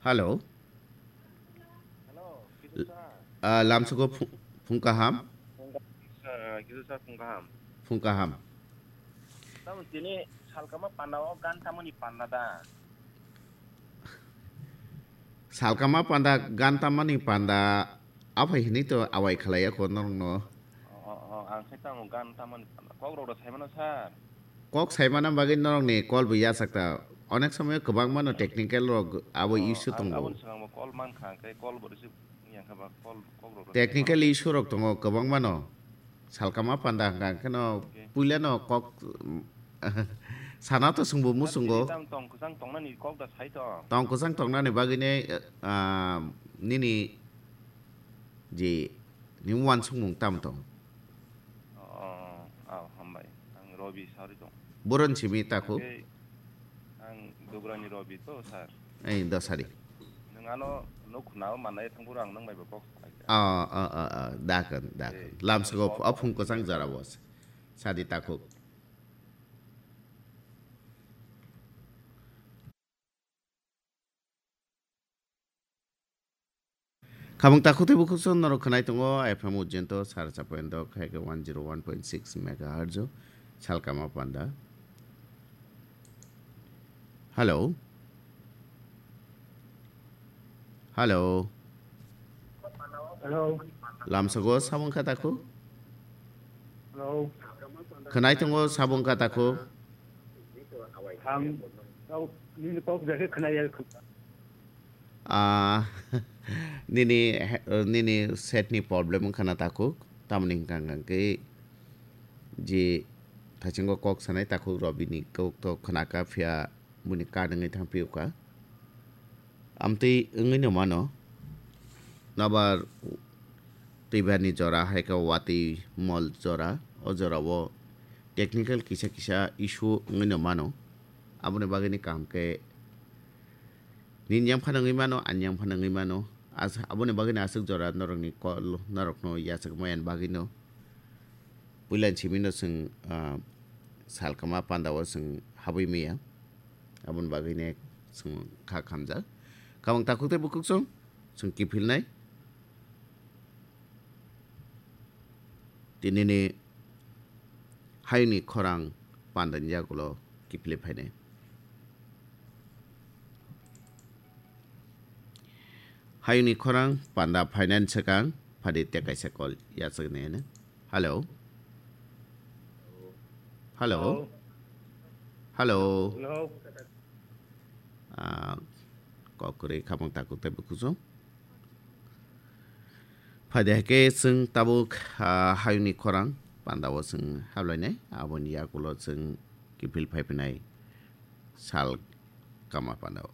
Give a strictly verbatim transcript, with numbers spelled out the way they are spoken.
Hello. Hello, Kisu sir. Ah, lamsugo phu-, phung kaham. Phung kaham, sir, ah, Kisu sir, phung kaham. Phung kaham. Tamo tini salkama panda o gan tamoni panda da? Salkama panda gan tamani panda aphai hini to awai khalai ako norokno. O, o, o, ang khe tamo gan tamani panda. Kok rok rw saimano sir. Kok saimana bagwi norokni call bo yachak ta. Onek somoy kwbangmano technical rok abo issue tongo. Aboni swkang bo call mankha, hwnkhe call bo receive wngya kha ba call, kok rok rw saimano. Technical issue rok tongo kwbangmano. Salkama panda hwnkha kheno puilano kok sana to swngbo musungo. Tamo tong kwchang tongnani kok da sai to. Tong kwchang tongnani bagwini, ah, nini je ni wansukmung tamo tong? Oh, oh, hambai. Ang Robi Sari tong. Boron simi takhuk? Ang Dugrani Robi to, sir. Ei, dosari. Nwng ano nuk khunao manai thangphuru ang nwng bai bo kok salai kha. Ah, ah, ah, ah, dakon, dakon. Lamsgo aphung kwchang jora bo sadi takhuk. Khamung takhuk tei bukhuk song norok khwnai tongo F M Ujjento sar chapoendo khaike one zero one point six megahertz o salkama panda. Hello. Hello. Hello. Lamsago sabung kha takhuk? Hello. Khwnai tongo sabung kha takhuk? Ang kok, nini kok jakhe khwnaya. Ah, nini, nini set ni problem wngkha na takhuk? Tamoni hwnkha hwnkha khe je thaichungo kok sanai takhuk rw bini kok to khwnaka phiya buini card wngwi thangphiyokha. Amtwi wngwino mano, nobar twibarni jora hai khe watwi mol jora, o jorao technical kisa kisa issue wngwino mano. Aboni bagwini kaham khe nini yang phano wngwi mano, ani yang phano wngwi mano. As-, aboni bagwini aswk jora norokni call, norokno yachak maya ni bagwino. Puila ni simi no chwng, ah, salkama panda o chwng habwi maya. Aboni bagwi ne chwng kha khamjak. Khamung takhuk tei bukhuk chwng, chwng kiphilnai. Tinini hayungni khorang pandani yagulo kiphilwi phainai. Hayungni khorang panda phainani swkang phadi tei kaisa call yachaknai hwnwi. Hello. Hello. Hello. Hello. Ah, kok kwrwi khamung takhuk tei bukhuk chwng. Phai de hai khe chwng tabuk, ah, hayungni khorang panda o chwng hablainai, aboni yagulo chwng kiphil phai phinai sal kama panda o.